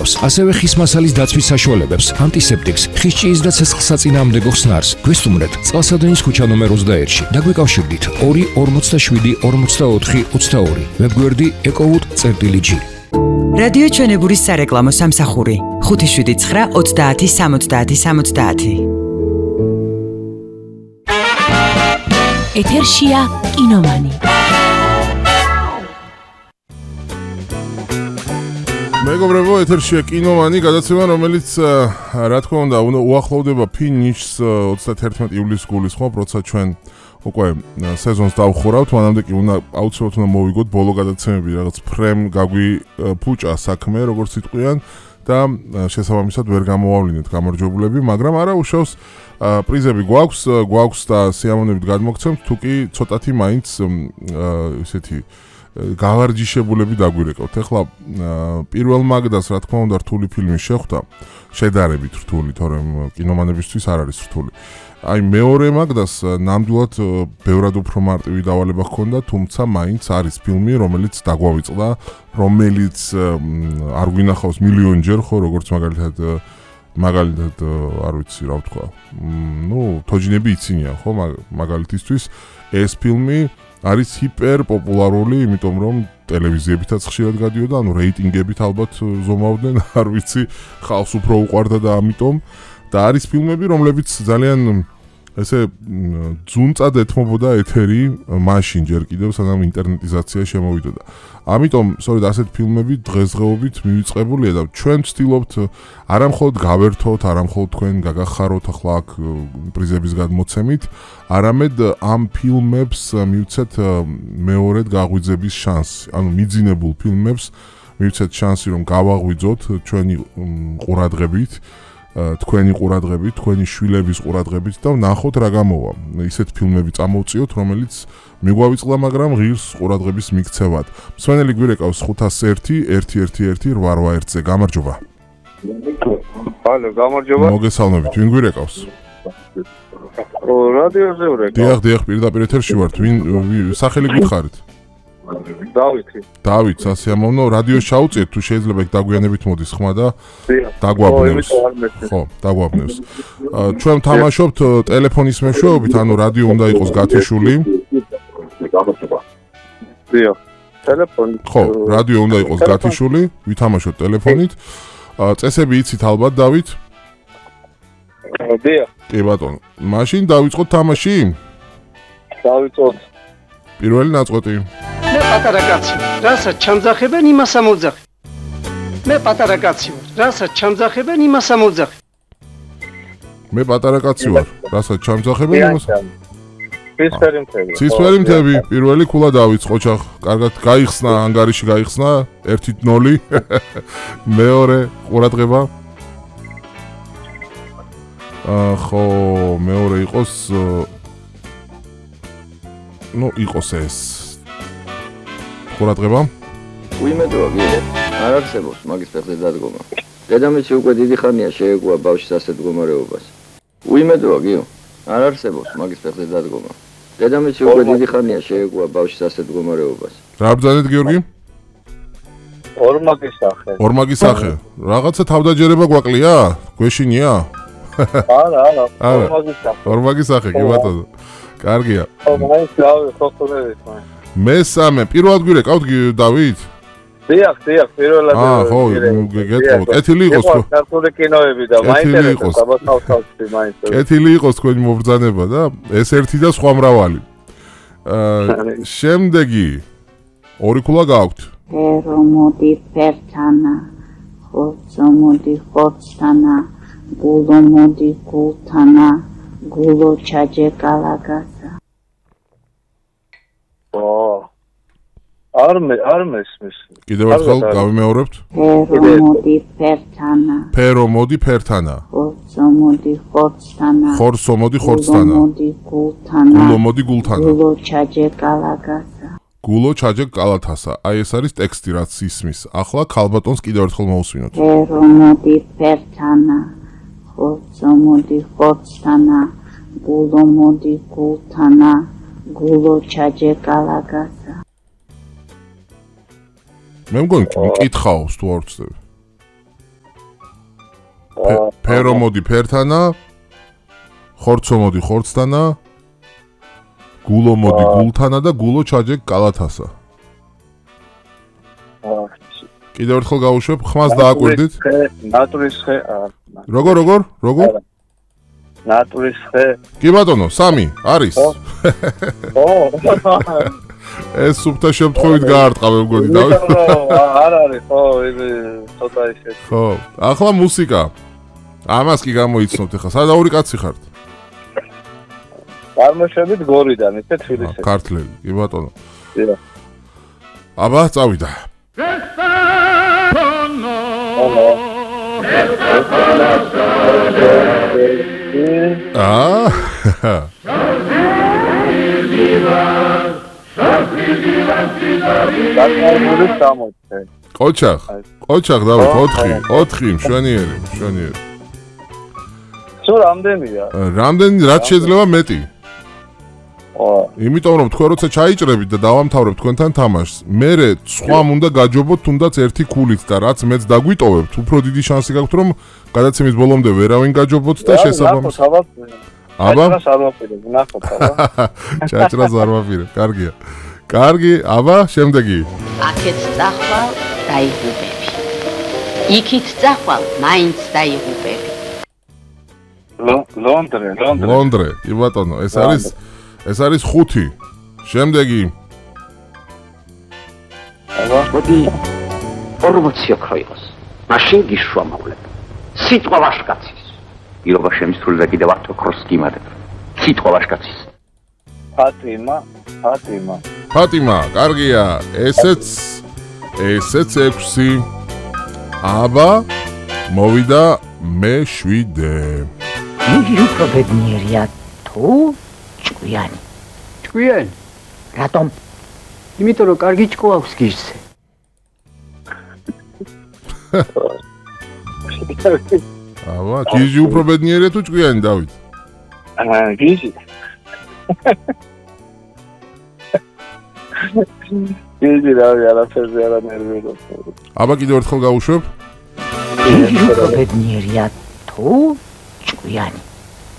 ასევე ხის მასალის დაცვის საშუალებებს, ანტისეპტიკს, ხისჭიის და ცეცხლსაწინააღმდეგო ხსნარს. გვესტუმრეთ წყალსადენის ქუჩა ნომერ 21-ში. დაგვიკავშირდით 2 47 44 22. ვებგვერდი ecowood.g. რადიო ჩვენებურის სარეკლამო სამსახური 579 30 70 70. ეთერშია კინომანი. მეგობრებო, ეთერშია კინომანი, გადაცემა, რომელიც რა თქმა უნდა უახლოვდება ფინიშს 31 ივლისს გულისხმობ, როცა ჩვენ უკვე სეზონს დავხურავთ, მანამდე კი აუცილებლად უნდა მოვიგოთ ბოლო გადაცემები, რაღაც ფრემ გაგვიფუჭა საქმე, როგორც იტყვიან და შესაბამისად ვერ გამოავლინეთ გამარჯვებულები, მაგრამ არა უშავს პრიზები გვაქვს და სიამოვნებით გადმოგცემთ, თუკი ცოტათი მაინც ესეთი გავარჯიშებულები დაგვირეკავთ. ეხლა პირველ მაგდას რა თქმა უნდა რთული ფილმი შეხვდა, შედარებით რთული, თორემ კინომანებისთვის არ არის რთული. აი მეორე მაგდას ნამდვილად ბევრად უფრო მარტივი დავალება ჰქონდა, თუმცა მაინც არის ფილმი, რომელიც დაგვავიწყდა, რომელიც არ გვინახავს მილიონჯერ, ხო, როგორც მაგალითად არ ვიცი რა ვთქვა. თოჯინები იცინიან, ხო, მაგალითისთვის ეს ფილმი არის ჰიპერ პოპულარული, იმიტომ რომ ტელევიზიებითაც ხშირად გადიოდა, რეიტინგებით ალბათ ზომავდნენ, არ ვიცი, ხალხს უფრო უყვარდა და ამიტომ და არის ფილმები, რომლებიც ძალიან ესე ძუნწად ეთმობოდა ეთერი მაშინ ჯერ კიდევ სანამ ინტერნეტიზაცია შემოვიდოდა. ამიტომ, სწორედ ასეთ ფილმები დღესდღეობით მივიწყებულია და ჩვენ ვცდილობთ არა მხოლოდ გავერთოთ, არა მხოლოდ თქვენ გაგახაროთ ახლა აქ პრიზების გადმოცემით, არამედ ამ ფილმებს მივცეთ მეორედ გაღვიძების შანსი. ანუ მიძინებულ ფილმებს მივცეთ შანსი, რომ გავაღვიძოთ ჩვენი ყურადღებით, თქვენი ყურადღებით, თქვენი შვილების ყურადღებით და ვნახოთ რა გამოვა. ისეთ ფილმები წამოვწიოთ, რომელიც მიგვავიწყდა, მაგრამ ღირს ყურადღების მიქცევად. მსმენელი გვირეკავს 501-111-881-ზე. გამარჯობა. ჰალო, გამარჯობა. მოგესალმებით, ვინ გვირეკავს? რადიოზე ვრეკავ. დიახ, პირდაპირ ეთერში ვართ. ვინ სახელი გითხარით? დავით, სასიამოვნო, რადიოს ჩაუწიეთ, თუ შეიძლება დაგვიანებით მოდის ხმა და დაგვაბნევს. ხო, დაგვაბნევს. ჩვენ თამაშობთ ტელეფონის მეშვეობით, ანუ რადიო უნდა იყოს გათიშული. დიახ, ტელეფონი. ხო, რადიო უნდა იყოს გათიშული, ვითამაშოთ ტელეფონით. წესები იცით ალბათ, დავით? დიახ. კი ბატონო. მაშინ დავიწყოთ თამაში? დავიწყოთ. პირველი ნაწყვეტი. მე პატარა კაცი ვარ, რასაც ჩამძახებენ იმას ამოძახი. მე პატარა კაცი ვარ, რასაც ჩამძახებენ იმას ამოძახი. მე პატარა კაცი ვარ, რასაც ჩამძახებენ იმას. ცისფერი მთები, პირველი ქულა დავიწყო ჩახ. კარგად გაიხსნა, ანგარიში გაიხსნა, 1-0. მეორე ყურადღება. ხო, მეორე იყოს იყოს ეს. ყურადღება. უიმედოა გიორე, არ არსებობს მაგის ფეხზე დადგომა. დედამისი უკვე დიდი ხანია შეეგუა ბავშვის ასეთ მდგომარეობას. უიმედოა გიო, არ არსებობს მაგის ფეხზე დადგომა. დედამისი უკვე დიდი ხანია შეეგუა ბავშვის ასეთ მდგომარეობას. რა ბრძანეთ გიორგი? ორმაგის სახე. რაღაცა თავდაჯერება გვაკლია? გვეშინია? არა, ორმაგის სახე, კი ბატონო. კარგია. მაინც გავიხსოვდეთ. მესამე, პირველად გვირეკავთ დავით? დიახ, პირველად. ხო, გეტყობ. კეთილი იყოს ხო? ქართული კინოები და მაინტერესებს საბათავსავსი მაინც. კეთილი იყოს თქვენი მობრძანება და ეს ერთი და სხვა მრავალი. შემდეგი ორი ქულა გაქვთ. მოდი ფერთანა, ხორცო მოდი ხორცთანა, გულო მოდი გულთანა, გულო ჩაჯე კალაგასა. არ მესმის. კიდევ ერთხელ გავიმეორებთ. მოდი ფერთანა. ფერო მოდი ფერთანა. ხორცო მოდი ხორცთანა. ხორცო მოდი ხორცთანა. მოდი გულთანა. გულო მოდი გულთანა. გულო ჩაჯე კალაგასა. გულო ჩაჯე კალათასა. აი ეს არის ტექსტი რაც ისმის. ახლა ქალბატონს კიდევ ერთხელ მოусვინოთ. მოდი ფერთანა. ხორცო მოდი ხორცთანა. გულო მოდი გულთანა. გულო ჩაჯე კალაგასა. მე მგონი მკითხაოს თუ არ ვწდები. ფერო მოდი ფერთანა, ხორცო მოდი ხორცთანა, გულო მოდი გულთანა და გულო ჩაჯეკ კალათასა. კიდევ ერთხელ გავუშვებ, ხმას დააკვირდით. ნატურის ხე. როგორ? ნატურის ხე. კი ბატონო, 3 არის. ეს სუფთა შემთხვევით გაარტყა მე მგონი დავით. არ არის, ხო, ცოტა ისე. ხო, ახლა მუსიკა. ამას კი გამოიცნობთ ახლა. სადაური კაცი ხართ? წარმოშობით გორიდან, ისე თბილისში. ქართლელი, კი ბატონო. დიახ. აბა, წავიდა. კოჩახ დავით 4 მშვენიერი. სულ რამდენია? რამდენი რაც შეიძლება მეტი. იმიტომ რომ თქვენ როცა ჩაიჭრებით და დავამთავრებთ თქვენთან თამაშს, მერე სხვამ უნდა გაჯობოთ თუნდაც ერთი ქულით და რაც მეც დაგვიტოვებთ, უფრო დიდი შანსი გაქვთ რომ გადაცემის ბოლომდე ვერავინ გაჯობოთ და შესაბამისად. აბა? ჩაჭრას არ ვაპირებ, კარგია. კარგი, აბა, შემდეგი. აქეთ წახვალ დაიღუპები. იქით წახვალ მაინც დაიღუპები. ლონდრე. კი ბატონო, ეს არის 5. შემდეგი. მოდი 40 ოქრო იყოს. მაშინ გიშვამავლებ. სიტყვა ვაშკაცის. პირობა შემისრული და კიდევ 10 ოქროს გიმადებ. სიტყვა ვაშკაცის. ფატიმა, კარგია. ესეც 6. აბა, მოვიდა მე-7. იგი უფრო ბედნიერია თუ ჭკვიანი. ჭკვიანი? რატომ? იმიტომ რომ კარგი ჭკუ აქვს გიჟზე. აბა, გიჟი უფრო ბედნიერია თუ ჭკვიანი, დავით? გიჟი. გიჟი რავი, არაფერზე არ ნერვიულობ. აბა, კიდევ ერთხელ გავუშვებ. იგი უფრო ბედნიერია თუ ჭკვიანი.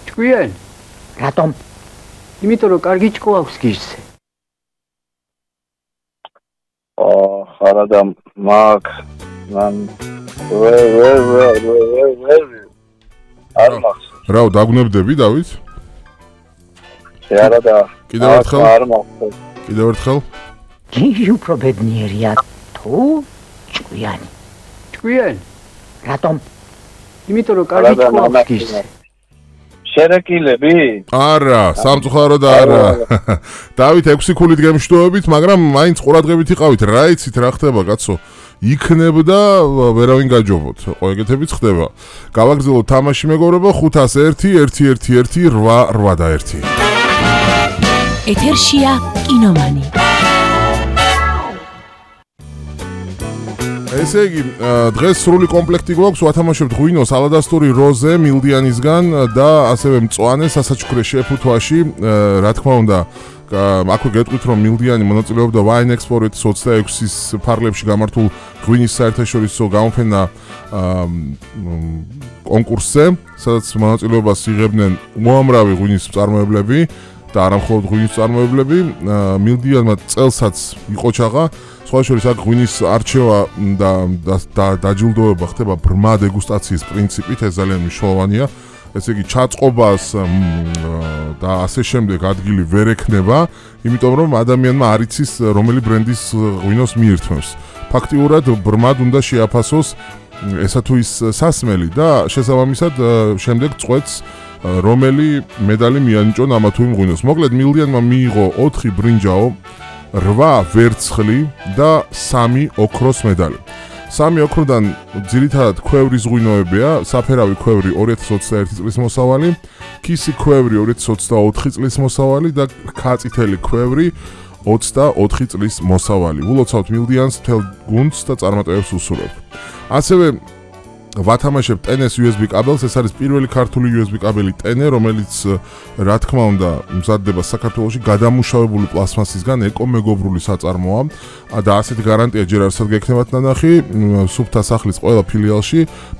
ჭკვიანი? რატომ? იმიტომ რომ კარგი ჭკუ აქვს გიჟზე. არა და მაგ მან არ მახსოვს. რა დაგვნებდები დავით? არა და კიდევ ერთხელ? არ მახსოვს. კიდევ ერთხელ? იგი უფრო ბედნიერია თუ ჭკვიანი. ჭკვიანი? რატომ? იმიტომ რომ კარგი ჭკუ აქვს გიჟზე. შერეკილები? არა, სამწუხარო და არა. დავით 6 ქულით გემშვიდობებით, მაგრამ მაინც ყურადღებით იყავით, რა იცით რა ხდება, კაცო? იქნებ და ვერავინ გაჯობოთ. ხო, ეგეთებიც ხდება. გავაგრძელოთ თამაში მეგობრებო, 501-1-1-8-8 და 1. ეთერშია კინომანი. ესე იგი, დღეს სრული კომპლექტი გვაქვს, ვათამაშებთ ღვინოს, ალადასტური როზე მილდიანისგან და ასევე მწვანე სასაჩუქრე შეფუთვაში, რა თქმა უნდა, აქვე გეტყვით რომ მილდიანი მონაწილეობდა Wine Export-ის 26-ის ფარგლებში გამართულ ღვინის საერთაშორისო გამოფენა კონკურსზე, სადაც მონაწილეობას იღებდნენ უამრავი ღვინის მწარმოებლები და არა მხოლოდ ღვინის მწარმოებლები. მილდიანმა წელსაც იყოჩაღა, სხვა შორის აქ ღვინის არჩევა და დაჯილდოება ხდება ბრმა დეგუსტაციის პრინციპით, ეს ძალიან მნიშვნელოვანია. ესე იგი ჩაწყობას და ასე შემდეგ ადგილი ვერ ექნება, იმიტომ რომ ადამიანმა არ იცის რომელი ბრენდის ღვინოს მიირთმევს. ფაქტიურად ბრმად უნდა შეაფასოს ესა თუ ის სასმელი და შესაბამისად შემდეგ წყვეტს რომელი медали მიანიჭონ ამა თუ იმ ღვინოს. მოკლედ მილდიანმა მიიღო 4 ბრინჯაო, 8 ვერცხლი და 3 ოქროს медали. 3 ოქროდან ძირითადად ქვევრის ღვინოებია, საფერავი ქვევრი 2021 წლის მოსავალი, ქისი ქვევრი 2024 წლის მოსავალი და რქაწითელი ქვევრი 24 წლის მოსავალი. ულოცავთ მილდიანს მთელ გუნდს და წარმატებებს უსურვებთ. ასევე ვათამაშებთ ტენეს USB კაბელს, ეს არის პირველი ქართული USB კაბელი ტენე, რომელიც რა თქმა უნდა მზადდება საქართველოში გადამუშავებული პლასმასისგან, ეკომეგობრული საწარმოა და ასეთი გარანტია ჯერ არსად გექნებათ ნანახი სუფთა სახლის ყველა ფილიალში.